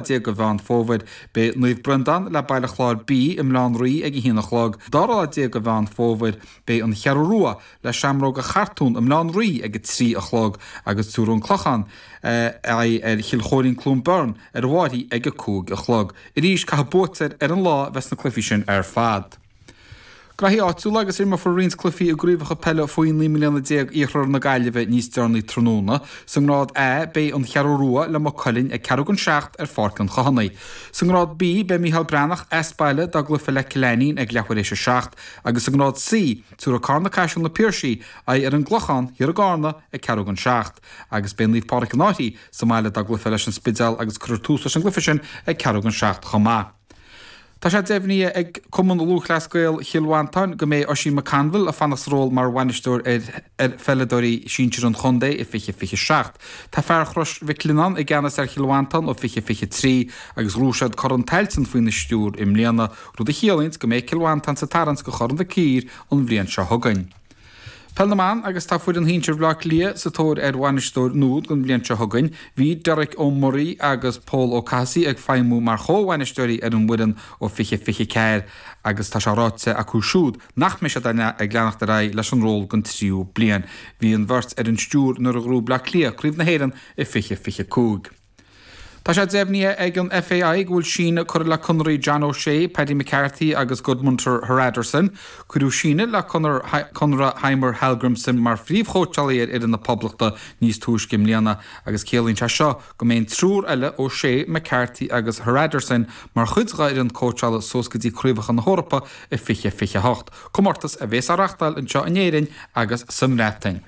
déag de Mheán Fómhair. Beidh Naomh Breandán le Baile Chláir B i mBaile Átha an Rí ag a haon a chlog. Dara lá déag de Mheán Fómhair, beidh An Cheathrú Rua le Seamróga Chartún i mBaile Átha an Rí ag a 3 a chlog agus tabharfaidh An Clochán aghaidh ar Chill Chóirín Cluain Bheirn ar an bhFairche ag a 5 a chlog. Arís, caithfidh buaiteoir ar an lá a bheith sna cluichí sin ar fad. Graithí áitiúla agus imreofar roinnt cluichí i gcraobhacha peile faoi 19 mbliana Iarthar na Gaillimhe níos deireanaí tráthnóna. Sa ngrád A, beidh An Cheathrú Rua le Maigh Cuilinn ag ceathrú don seacht ar Pháirc an Chathánaigh. Sa ngrád B, beidh Micheál Breathnach as baile dá gcluiche le Cill Ainnín ag leathuair théis a seacht agus sa ngrád C, tabharfaidh Carna Caiseal na Piarsaigh aghaidh ar an gClochán thiar i gCarna ag ceathrú don seacht agus beidh Naomh Pádraig an Fhairche sa mbaile dá gcluiche leis an Spidéal agus cuirfear tús leis an gcluiche sin ag ceathrú don seacht chomh maith. Tá sé deimhnithe ag Cumann Lúthchleas Gael Chill Mhantáin go mbeidh Oisín McConville ag fanacht sa ról mar bhainisteoir ar ar pheileadóirí sinsir an chontae i 2027. Tá fear Chrois Mhic Lionnáin i gceannas ar Chill Mhantáin ó 2023 agus ghnóthaigh siad Corn Tailteann faoina stiúir i mbliana, rud a chiallaíonns go mbeidh Cill Mhantáin sa tarraingt do Chorn Mhic Uidhir an bhliain seo chugainn. Peil na mBan agus tá foireann shinsir Bhaile Átha Cliath sa tóir ar bhainisteoir nua don bhliain seo chugainn. Bhí Derek Ó Muirí agus Pól Ó Cathasaigh ag feidhmiú mar chomh-bhainisteoirí ar an bhfoireann ó 2024 agus tá sé ráite acu siúd nach mbeidh siad ag leanacht ar aghaidh leis an ról don tríú bliain. Bhí an bheirt ar an stiúir nuair a ghnóthaigh Bleá Cliath Craobh na hÉireann i 2025. Tá sé deimhnithe ag an FAI go bhfuil síneadh curtha le conarthaí John O'Shea, Paddy McCarthy agus Gudmundur Hrafnarson. Cuireadh síneadh le conradh Heimir Hallgrimsson mar phríomhchóitseálaí ar fhoireann na Poblachta níos túisce i mbliana agus ciallaíonn sé seo go mbeidh an triúr eile, O'Shea, McCarthy agus Hrafnarson, mar chuid dá fhoireann cóitseála suas go dtí Craobhacha na hEorpa i 2028, comórtas a bhéas á reachtáil anseo in Éirinn agus sa mBreatain.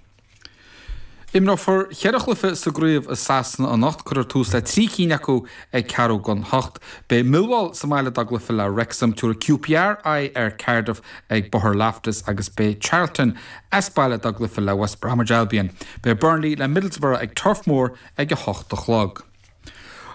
Imreofar cheithre chluiche sa gcraobh i Sasana anocht. Cuirfear tús le 3 cinn acu ag ceathrú don hocht. Beidh Millwall sa mbaile dá gcluiche le Wrexham, tabharfaidh QPR aghaidh ar Cardiff ag Bóthar Loftus agus beidh Charlton as baile dá gcluiche le West Bromwich Albion. Beidh Burnley le Middlesbrough ag Turf Moor ag 8 a chlog.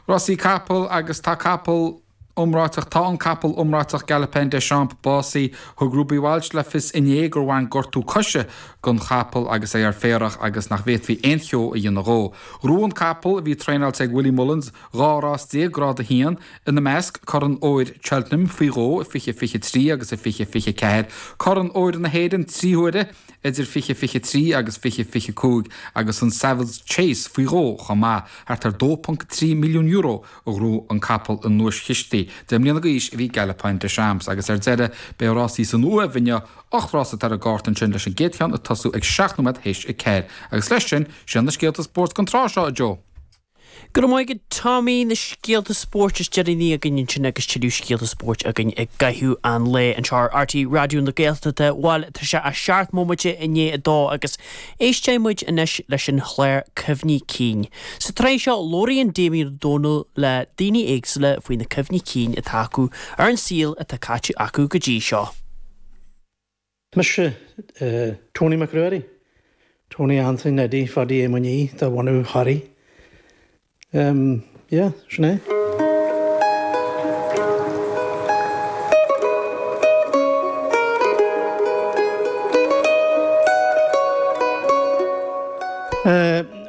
Rásaí capall agus tá capall. Iomráiteach Tá an capall iomráiteach Galopin Des Champs básaithe. Thug Ruby Walsh le fios inné gur bhain gortú coise don chapall agus é ar féarach agus nach bhféadfaí aon cheo a dhéanamh dhó. Ghnóthaigh an capall, a bhí traenáilte ag Willie Mullins, 12 rás Grád 1, ina measc, Corn Óir Cheltenham faoi dhó i 2023 agus i 2024, Corn Óir na hÉireann 3 huaire idir 2023 agus 2025 agus an Savills Chase faoi dhó chomh maith, thart ar €2.3 milliún. a ghnóthaigh an capall i nduaischistí. 10 mbliana d'aois a bhí Galopin Des Champs agus ar deireadh beidh rásaí san Uaimh inniu, 8 rás atá ar an gcárta ansin leis an gcéad cheann ag tosú ag 7 nóiméad théis a 4. Agus leis sin, sin na scéalta spóirt don tráth seo, a Joe. Go raibh maith agat Tommy, na scéalta spóirt is deireanaí againn ansin agus tuilleadh scéalta spóirt againn i gcaitheamh an lae anseo ar RTÉ Raidió na Gaeltachta. Bhuel, tá sé a seacht mbomaite i ndiaidh a dó agus éistfidh muid anois leis an chlár Cuimhní Cinn. Sa tsraith seo, labhraíonn Damien Ó Dónaill le daoine éagsúla faoi na cuimhní cinn atá acu ar an saol atá caite acu go dtí seo. Mise Tony Mac Ruairí, Tony Anthony Neidí Phadaí Éamoinn Uí de bhunadh Thoraí. Yeah, sin é.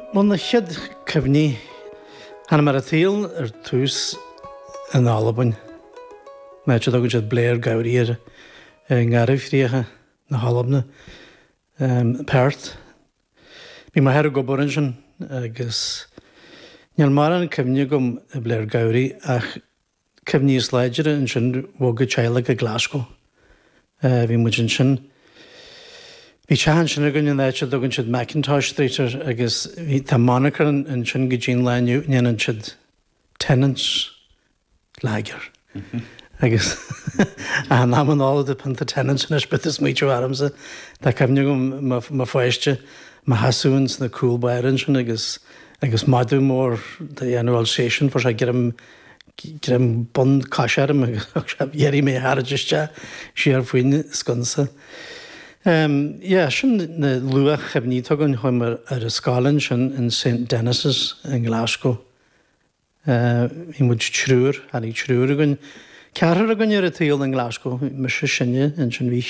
Bhuel, na chéad cuimhní, tháinig mé ar an tsaol ar tús in Albain, in áit a dtugann siad Blairgowrie air, i nGarbhchríocha na hAlban, Perth. Bhí m'athair ag obair ansin agus níl mórán cuimhne agam i Blairgowrie ach cuimhní is láidre ansin bhog an teaghlach go Glasgow. Bhí muid ansin, bhí teach ansin againn in áit a dtugann siad Mackintosh Street air agus bhí, tá monarcha ansin go dtí an lá inniu, ndéanann siad Tennent's lager agus in am an ól the pionta Tennent's anois but is smaoitiú ormsa, tá cuimhne agam mo pháiste mo sheasamh ins na cúl báire ansin agus agus madadh mór de dhéanamh Alsatian fuair sé greim greim bun coise orm agus d'iarraidh mé a tharraingt isteach siar faoin sconsa. Yeah, sin na luath-chuimhní atá againn, chuaigh mé ar an scoil ansin in St Denis's i nGlasgow. Bhí muid triúr, tháinig triúr againn, ceathrar againn ar an tsaol i nGlasgow, mise sine, ansin bhí.